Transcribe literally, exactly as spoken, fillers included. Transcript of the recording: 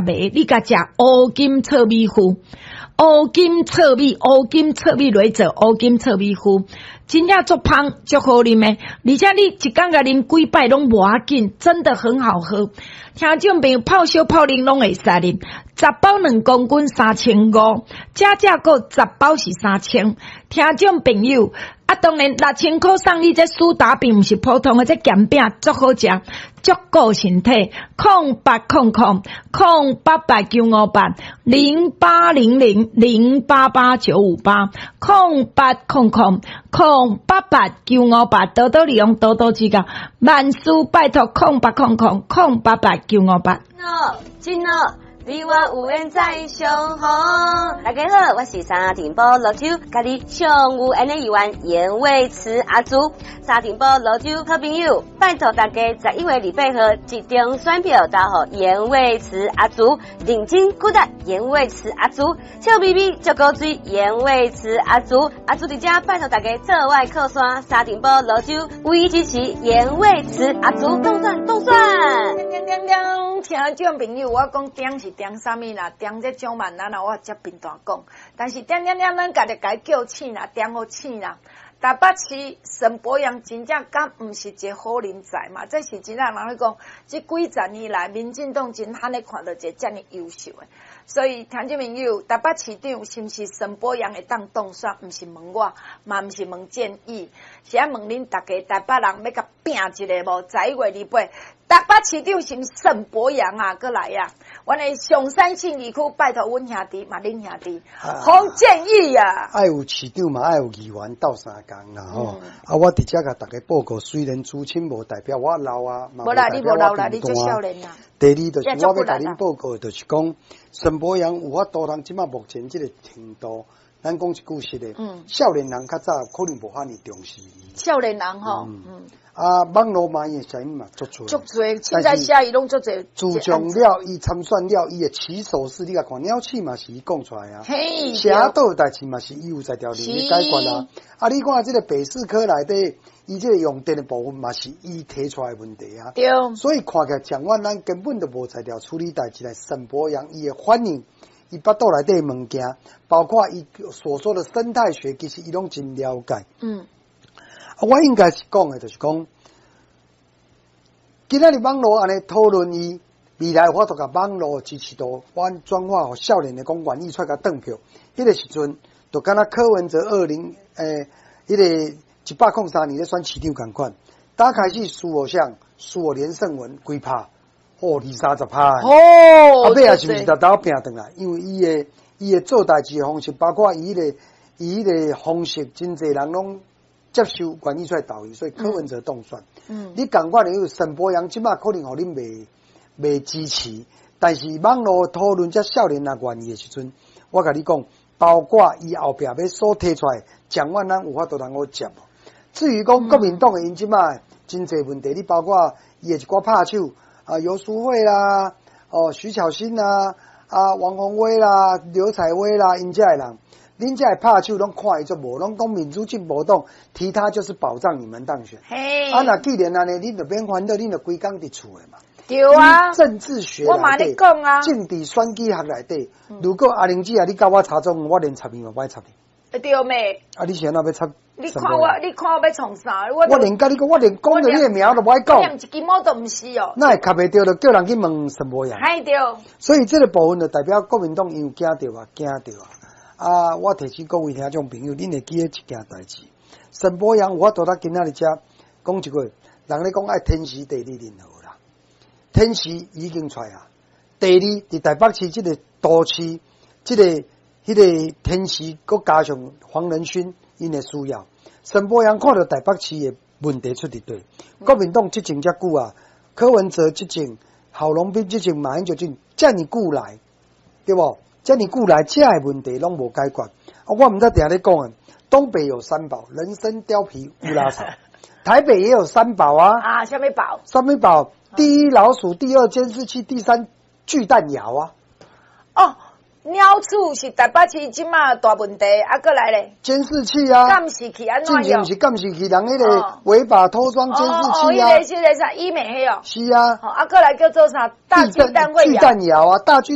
糜，你共食烏金糙米麩，烏金糙米，烏金糙米來做烏金糙米麩，真正足芳足好啉的，而且你一工共啉幾擺攏無要緊，真的很好喝。聽眾朋友泡燒泡冷攏會使啉，十包兩公斤三千五，加價購十包是三千。聽眾朋友，啊，當然六千箍送你這蘇打餅，毋是普通的，這鹹餅足好食，足顧身體。空八空空空八八九五八零八零零零八八九五八空八空空空八八九五八，多多利用，多多指教，萬事拜託空八空空空八八九五八。真哦，你我有緣再相逢。大家好，我是三重埔蘆洲，佮你上有緣的議員嚴偉慈阿祖。三重埔蘆洲好朋友，拜託大家十一月二八號集中選票投予嚴偉慈阿祖，認真鼓勵嚴偉慈阿祖，笑眯眯足古錐嚴偉慈阿祖，阿祖佇遮拜託大家做我靠山，三重埔蘆洲唯一支持嚴偉慈阿祖，當選當選。叮叮叮，聽眾朋友，我講叮是叮啥物啦？叮這張萬咱啊，我接平大講。但是叮叮叮，咱家己共叫醒啦，叮予醒啦。台北市沈伯洋真正敢毋是一個好人才嘛？這是真正人咧講，這幾十年來，民進黨真罕咧看著一個遮爾優秀的。所以聽眾朋友，台北市長是毋是沈伯洋會當當選？毋是問我，嘛毋是問建議，是愛問恁逐家台北人欲共拚一下無？十一月二八，台北市長是毋是沈伯洋啊？閣來啊！阮的松山信義區拜託阮兄弟嘛，恁兄弟洪建義啊！愛有市長嘛，愛有議員鬥相共啦吼。啊，我佇遮共大家報告，雖然資深無代表我老啊，無啦，你無老啦，你足少年啦。第二就是我欲共恁報告，就是講沈伯洋有法度通這馬目前這個程度，咱講一句實的，少年人較早可能無遐爾重視伊。少年人吼，嗯。啊，網路嘛，伊的聲音嘛足濟，足濟，凊彩寫伊攏足濟。自從了伊參選了，伊的起手式，你共看鳥鼠嘛是伊講出來啊，寫倒代誌嘛是伊有才調去解決啊。啊，你看這個北市科內底，伊這個用電的部分嘛是伊提出來的問題啊。對。所以看起來蔣萬安根本就無才調處理代誌來沈伯洋伊的反應，伊腹肚內底的物件，包括伊所說的生態學，其實伊攏真了解。嗯。啊，我應該是講的，就是講，今仔日網路按呢討論伊未來，我都共網路支持度，阮轉化予少年的講願意出來共轉票。彼個時陣，就敢若柯文哲二零欸，彼個一百空三年咧選市長仝款，打開始輸予啥？輸予連勝文幾趴，哦，二三十趴。哦，啊，尾仔是毋是沓沓拚轉來？因為伊的伊的做代誌的方式，包括伊彼個伊彼個方式，真濟人攏接受，願意出來投伊，所以柯文哲當選。嗯，你仝款的有沈伯洋，這馬可能予恁袂袂支持，但是網路討論這少年人願意的時陣，我共你講，包括伊後壁欲所提出來，蔣萬安有法度通好接無？至於講國民黨的𪜶這馬真濟問題，你包括伊的一寡拍手啊，游淑慧啦，哦，徐巧芯啦，啊，王鴻薇啦，劉愷威啦，𪜶遮的人。恁遮的拍手攏看伊足無，攏講民主進步黨提他就是保障你們當選。嘿，啊，若既然按呢，恁就免煩惱，恁就規工佇厝的嘛。對啊，政治學我嘛咧講啊，政治選舉學內底，如果阿玲姐啊，你共我插總，我連插伊嘛無愛插你。對咩？啊，你是按怎欲插？你看我，你看我欲創啥？我我連共你講，我連講著你的名我都無愛講。連一支毛都毋是哦。哪會插袂著，就叫人去問沈伯洋。係對。所以這個部分就代表國民黨伊有驚著啊，驚著啊。啊！我提醒各位聽眾朋友，恁會記得一件代誌。沈伯洋有法度今仔日遮講一句，人咧講愛天時地利人和啦。天時已經出來啊，地利佇台北市這個都市，這個彼個天時，閣加上黃仁勳𪜶的需要。沈伯洋看著台北市的問題出佇佗，國民黨執政遮久啊，柯文哲執政，郝龍斌執政，馬英九執政，遮爾久來，對無？遮爾久來，遮的問題攏無解決。啊，我毋知定咧講啊，東北有三寶：人參、貂皮、烏拉草。台北也有三寶啊。啊，啥物寶？啥物寶？第一老鼠，第二監視器，第三巨蛋窯啊。哦，鳥鼠是台北市這馬大問題，啊，閣來咧？監視器啊，監視器按怎用？是監視器，人彼個違法偷裝監視器啊。哦，彼個是個啥醫美彼哦。是啊。啊，閣來叫做啥？大巨蛋會巨蛋窯啊，大巨。